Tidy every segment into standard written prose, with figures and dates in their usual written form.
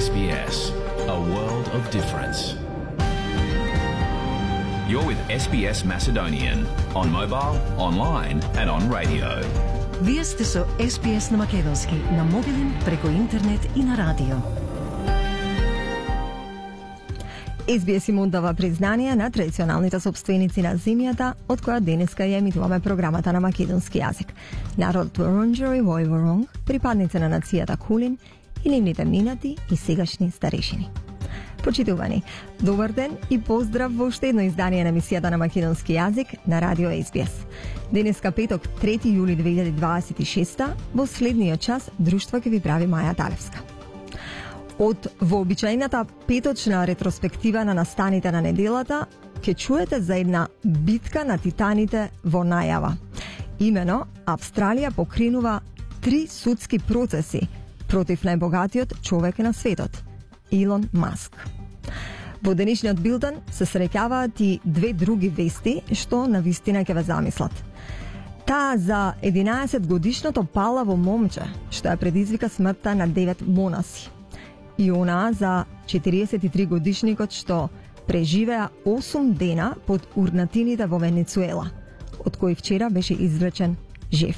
SBS, a world of difference. You're with SBS Macedonian on mobile, online and on radio. Вие сте со SBS на македонски, на мобилен, преку интернет и на радио. SBS им оддава признание на традиционалните собственици на земјата, од која денеска ја емитуваме програмата на македонски јазик. Народот Вурундџери во Воронг, припадници на нацијата Кулин и нивните минати и сегашни старешини. Почитувани, добар ден и поздрав во уште едно издание на емисијата на македонски јазик на радио SBS. Денеска петок, 3 јули 2026, во следниот час друштво ќе ви прави Маја Талевска. Од вообичаената петочна ретроспектива на настаните на неделата, ќе чуете за една битка на титаните во најава. Имено, Австралија покренува 3 судски процеси против најбогатиот човек на светот, Илон Маск. Во денешниот билтен се среќаваат и две други вести што навистина ќе ве замислат. Таа за 11 годишното палаво момче што ја предизвика смртта на 9 монаси. И онаа за 43 годишникот што преживеа 8 дена под урнатините во Венецуела, од кои вчера беше извлечен жив.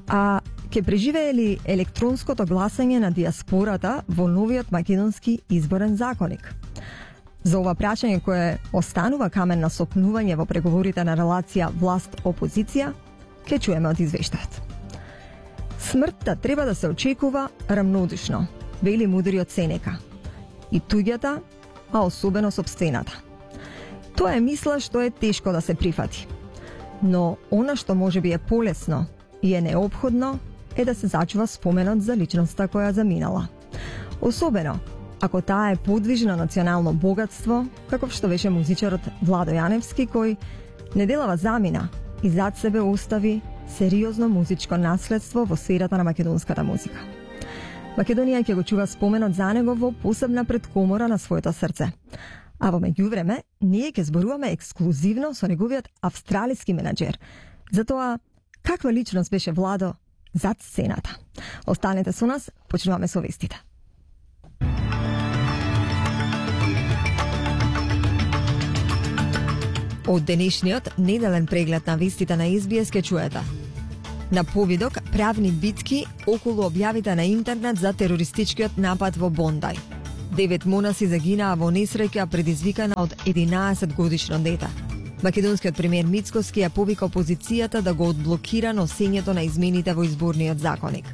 А ќе преживее ли електронското гласање на диаспората во новиот македонски изборен законник? За ова прашање кое останува камен на сопнување во преговорите на релација власт-опозиција, ќе чуеме од извештајот. Смртта треба да се очекува рамнодушно, вели мудриот Сенека. И туѓата, а особено сопствената. Тоа е мисла што е тешко да се прифати. Но она што може би е полесно и е неопходно е да се зачува споменот за личноста која заминала. Особено ако таа е подвижно национално богатство, каков што беше музичарот Владо Јаневски, кој неделава замина и зад себе остави сериозно музичко наследство во сферата на македонската музика. Македонија ќе го чува споменот за него во посебна предкомора на своето срце. А во меѓувреме, ние ќе зборуваме ексклузивно со неговиот австралиски менаџер. Затоа, каква личност беше Владо зад сцената? Останете со нас, почнуваме со вестите. Од денешниот неделен преглед на вестите на SBS ќе чуете. На повидок правни битки околу објавите на интернет за терористичкиот напад во Бондај. 9 монаси загинаа во несреќа предизвикана од 11 годишно дете. Македонскиот премиер Мицкоски ја повика опозицијата да го одблокира носењето на измените во изборниот законник.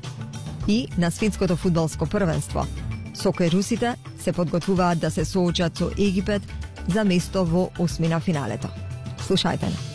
И на светското фудбалско првенство, сокерусите се подготвуваат да се соочат со Египет за место во осмина финалето. Слушајте не.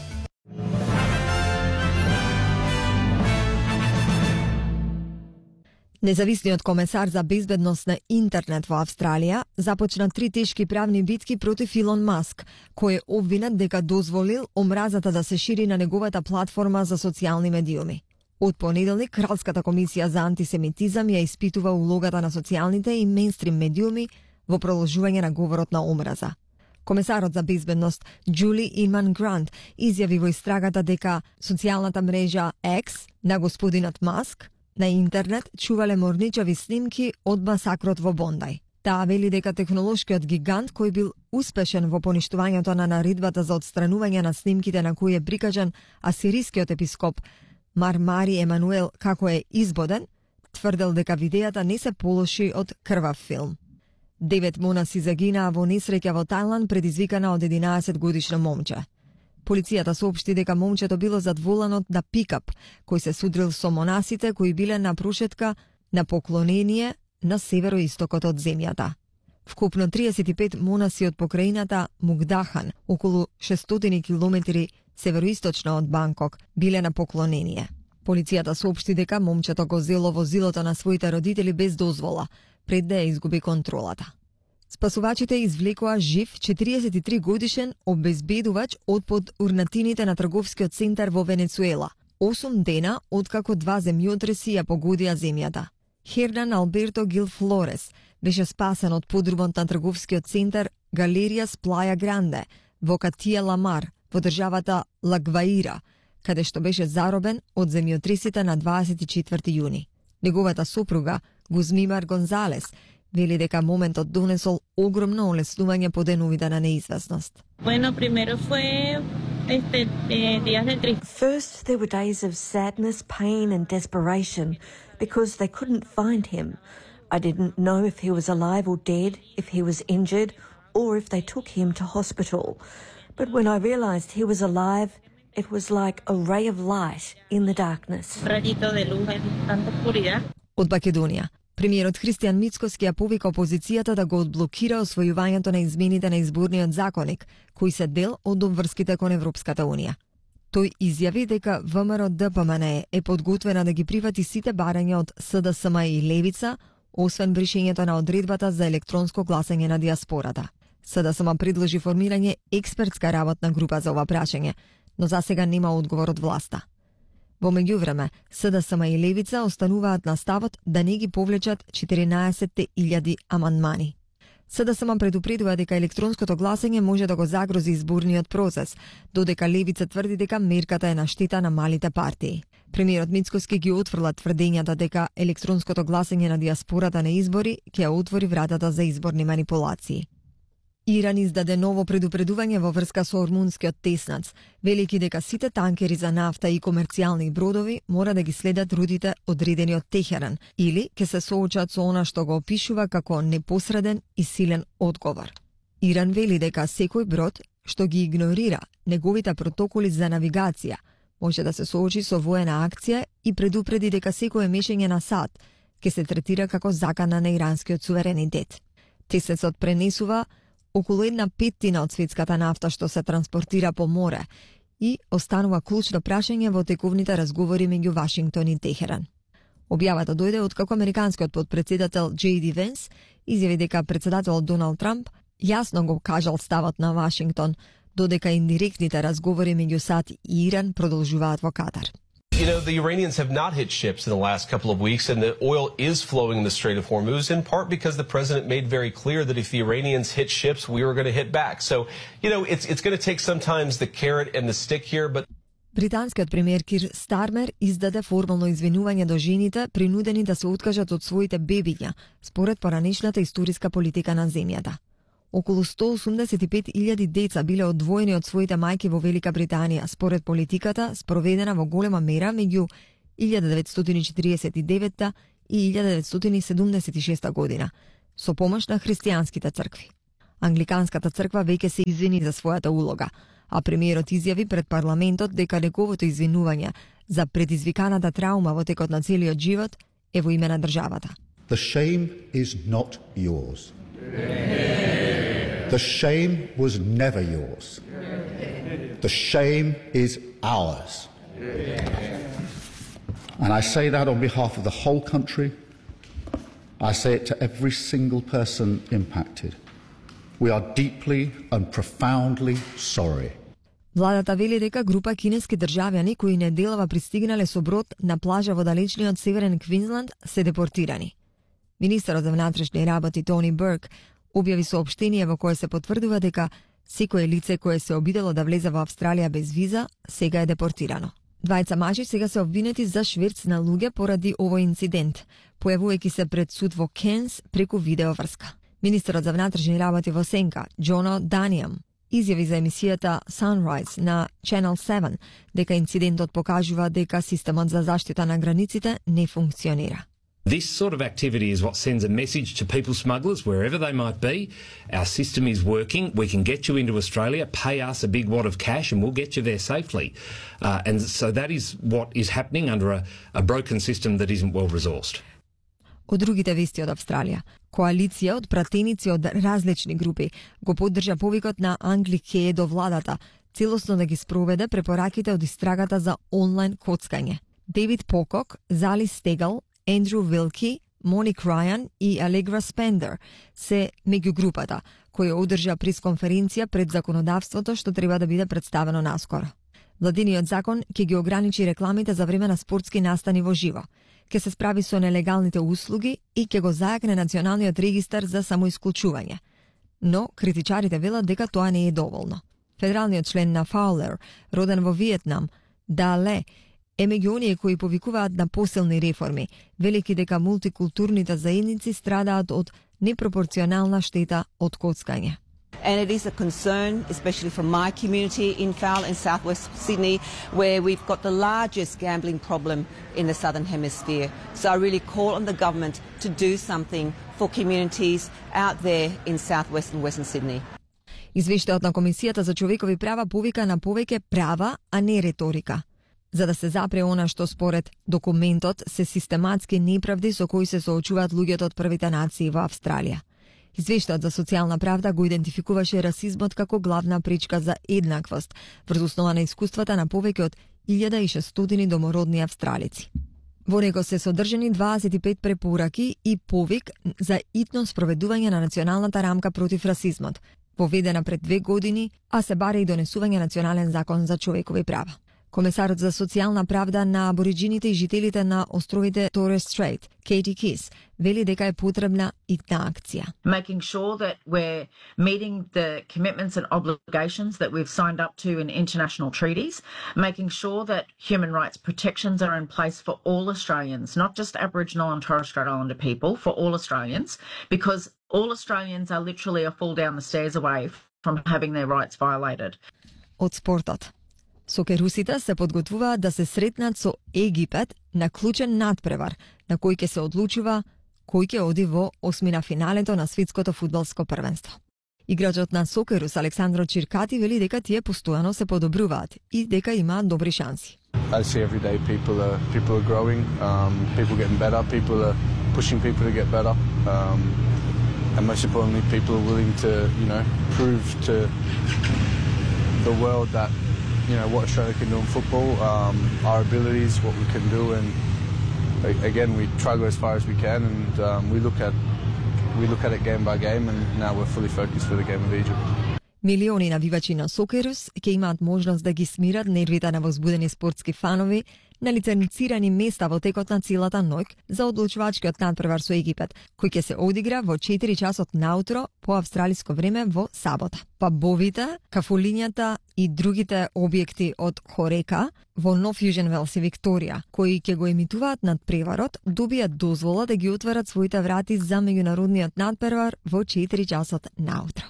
Независниот комесар за безбедност на интернет во Австралија започна 3 тешки правни битки против Илон Маск, кој е обвинет дека дозволил омразата да се шири на неговата платформа за социјални медиуми. Од понеделник, Кралската комисија за антисемитизам ја испитува улогата на социјалните и мејнстрим медиуми во продолжување на говорот на омраза. Комесарот за безбедност Джули Инман Грант изјави во истрагата дека социјалната мрежа X на господинот Маск на интернет чувале морничави снимки од масакрот во Бондај. Таа вели дека технолошкиот гигант кој бил успешен во поништувањето на наредбата за отстранување на снимките на кој е прикажан асирискиот епископ Мармари Емануел како е избоден, тврдел дека видеата не се полоши од крвав филм. 9 монаси загинаа во несреќа во Тајланд предизвикана од 11 годишно момче. Полицијата соопшти дека момчето било зад воланот на пикап, кој се судрил со монасите кои биле на прошетка на поклонение на североистокот од земјата. Вкупно 35 монаси од покраината Мугдахан, околу 600 километри североисточно од Банкок, биле на поклонение. Полицијата соопшти дека момчето го зело возилото на своите родители без дозвола, пред да ја изгуби контролата. Спасувачите извлекоа жив 43 годишен обезбедувач од под урнатините на трговскиот центар во Венецуела, 8 дена откако 2 земјотреси ја погодија земјата. Хернан Алберто Гил Флорес беше спасен од подрумот на трговскиот центар Галеријас Плаја Гранде во Катија Ламар, во државата Лагваира, каде што беше заробен од земјотресите на 24 јуни. Неговата сопруга, Гузмимар Гонзалес, Вели дека моментот донесол огромно олеснување по деновите на неизвестност. Bueno, primero fue días de tristeza. First, there were days of sadness, pain and desperation because they couldn't find him. I didn't know if he was alive or dead, if he was injured, or if they took him to hospital. But when I realised he was alive, it was like a ray of light in the darkness. Rayito de luz en tanta oscuridad. Од Македонија, премиерот Христијан Мицкоски ја повика опозицијата да го одблокира освојувањето на измените на изборниот законник, кои се дел од обврските кон Европската Унија. Тој изјави дека ВМРО-ДПМНЕ е подготвена да ги прифати сите барања од СДСМ и Левица, освен бришењето на одредбата за електронско гласање на диаспората. СДСМ предложи формирање експертска работна група за ова прашање, но засега нема одговор од власта. Во меѓувреме, СДСМ и Левица остануваат на ставот да не ги повлечат 14.000 амандмани. СДСМ предупредува дека електронското гласање може да го загрози изборниот процес, додека Левица тврди дека мерката е на штета на малите партии. Премиерот Мицкоски ги отфрла тврдењата дека електронското гласање на диаспората на избори ќе ја отвори вратата за изборни манипулации. Иран издаде ново предупредување во врска со ормунскиот теснац, велики дека сите танкери за нафта и комерцијални бродови мора да ги следат рутите одредени од Техеран или ќе се соочат со она што го опишува како непосреден и силен одговор. Иран вели дека секој брод што ги игнорира неговите протоколи за навигација може да се соочи со воена акција и предупреди дека секое мешање на САД ќе се третира како закана на иранскиот суверенитет. Тесецот пренесува околу 1/5 од светската нафта што се транспортира по море и останува клучно прашање во тековните разговори меѓу Вашингтон и Техеран. Објавата дојде откако американскиот подпредседател J.D. Венс изјави дека председателот Доналд Трамп јасно го кажал ставот на Вашингтон, додека индиректните разговори меѓу САД и Иран продолжуваат во Катар. You know, the Iranians have not hit ships in the last couple of weeks, and the oil is flowing in the Strait of Hormuz, in part because the president made very clear that if the Iranians hit ships, we were going to hit back. So, you know, it's going to take sometimes the carrot and the stick here, but... Британскиот премиер Кир Стармер издаде формално извинување до жените принудени да се откажат од своите бебиња, според поранешната историска политика на земјата. Околу 185.000 деца биле одвоени од своите мајки во Велика Британија, според политиката спроведена во голема мера меѓу 1949 и 1976 година, со помош на христијанските цркви. Англиканската црква веќе се извини за својата улога, а премиерот изјави пред парламентот дека неговото извинување за предизвиканата траума во текот на целиот живот е во име на државата. The shame is not yours. The shame was never yours. The shame is ours. And I say that on behalf of the whole country. I say it to every single person impacted. We are deeply and profoundly sorry. Владата вели дека група кинески државјани кои неделава пристигнале со брод на плажа во далечниот северен Квинсланд се депортирани. Министерот за внатрешни работи Тони Берк објави соопштение во кое се потврдува дека секое лице кое се обидело да влезе во Австралија без виза сега е депортирано. Двајца мажи сега се обвинети за шверц на луѓе поради овој инцидент, појавувајќи се пред суд во Кенс преку видеоврска. Министерот за внатрешни работи во Сенка, Джоно Данијам, изјави за емисијата Sunrise на Channel 7 дека инцидентот покажува дека системот за заштита на границите не функционира. This sort of activity is what sends a message to people smugglers, wherever they might be. Our system is working. We can get you into Australia, pay us a big wad of cash, and we'll get you there safely. And so that is what is happening under a broken system that isn't well resourced. Од другите вести од Австралија, коалиција од пратеници од различни групи го поддржа повикот на Англи Ке до владата, целосно да ги спроведе препораките од истрагата за онлайн коцкање. Дейвид Покок, Зали Стегал, Ендрю Вилки, Моник Рајан и Алегра Спендер се меѓу групата, која одржа пресконференција пред законодавството што треба да биде представено наскоро. Владиниот закон ќе ги ограничи рекламите за време на спортски настани во живо, ќе се справи со нелегалните услуги и ќе го зајакне националниот регистар за самоисклучување. Но критичарите велат дека тоа не е доволно. Федералниот член на Фаулер, роден во Виетнам, Дале, е меѓу оние кои повикуваат на посилни реформи, велики дека мултикултурните заедници страдаат од непропорционална штета од коцкање. And it is a concern, especially from my community in Fowl in southwest Sydney, where we've got the largest gambling problem in the southern hemisphere. So I really call on the government to do something for communities out there in southwest and western Sydney. Извештајот на Комисијата за човекови права повика на повеќе права, а не реторика, за да се запре она што според документот се систематски неправди со кои се соочуваат луѓето од првите нации во Австралија. Извештајот за социјална правда го идентификуваше расизмот како главна пречка за еднаквост, врз основа на искуствата на повеќе од 1600 домородни австралици. Во него се содржани 25 препораки и повик за итно спроведување на националната рамка против расизмот, поведена пред 2 години, а се баре и донесување национален закон за човекови права. Комесарот за социјална правда на абориджините и жителите на островите Torres Strait, Katie Kiss, вели дека е потребна итна акција. Making sure that we're meeting the commitments and obligations that we've signed up to in international treaties, making sure that human rights protections are in place for all Australians, not just Aboriginal and Torres Strait Islander people, for all Australians, because all Australians are literally a fall down the stairs away from having their rights violated. Од спортот. Сокерусите се подготвуваат да се сретнат со Египет на клучен надпревар, на кој ќе се одлучува кој ќе оди во осмина финалето на светското фудбалско првенство. Играчот на Сокерус Александро Чиркати вели дека тие постојано се подобруваат и дека имаат добри шанси. I see every day people are growing, people getting better, people are pushing people to get better, and most importantly people are willing to, prove to the world that what Australia can do in football, our abilities, what we can do, and again we try to go as far as we can, and we look at it game by game, and now we're fully focused for the game of Egypt. Милиони навивачи на Сокерус ќе имаат можност да ги смират нервите на возбудени спортски фанови на лиценцирани места во текот на целата ноќ за одлучувачкиот надпревар со Египет, кој ќе се одигра во 4 часот наутро по австралиско време во сабота. Пабовите, кафулињата и другите објекти од Хорека во Нов Јужен Велс и Викторија, кои ќе го емитуваат надпреварот, добијат дозвола да ги отворат своите врати за меѓународниот надпревар во 4 часот наутро.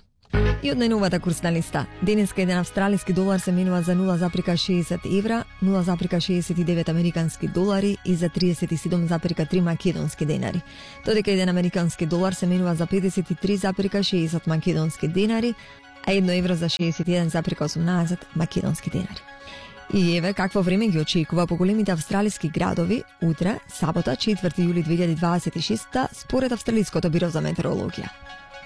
И од најновата курсна листа. Денеска еден австралиски долар се менува за 0,60 евра, 0,69 американски долари и за 37,3 македонски денари. Додека еден американски долар се менува за 53,60 македонски денари, а 1 евро за 61,18 македонски денари. И еве какво време ги очекува по големите австралиски градови утре, сабота, 4 јули 2026, според Австралиското биро за метеорологија.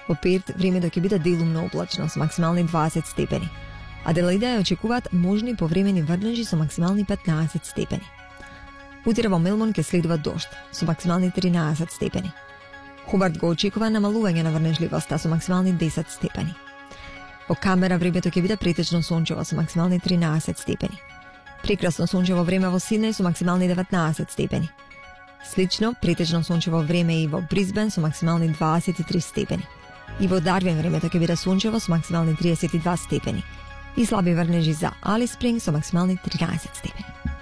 Во Перт времето ќе биде делумно облачно со максимални 20 степени. Аделаида ја очекуваат можни повремени врнежи со максимални 15 степени. Утре во Мелбурн ќе следува дожд со максимални 13 степени. Хобарт го очекува намалување на врнежливоста со максимални 10 степени. Во Камбера времето ќе биде претечно сончево со максимални 13 степени. Прекрасно сончево време во Сиднеј со максимални 19 степени. Слично претечно сончево време и во Брисбен со максимални 23 степени. И во Дарвин времето ќе биде сончево со максимални 32 степени. И слаби врнежи за Алис Спринг со максимални 13 степени.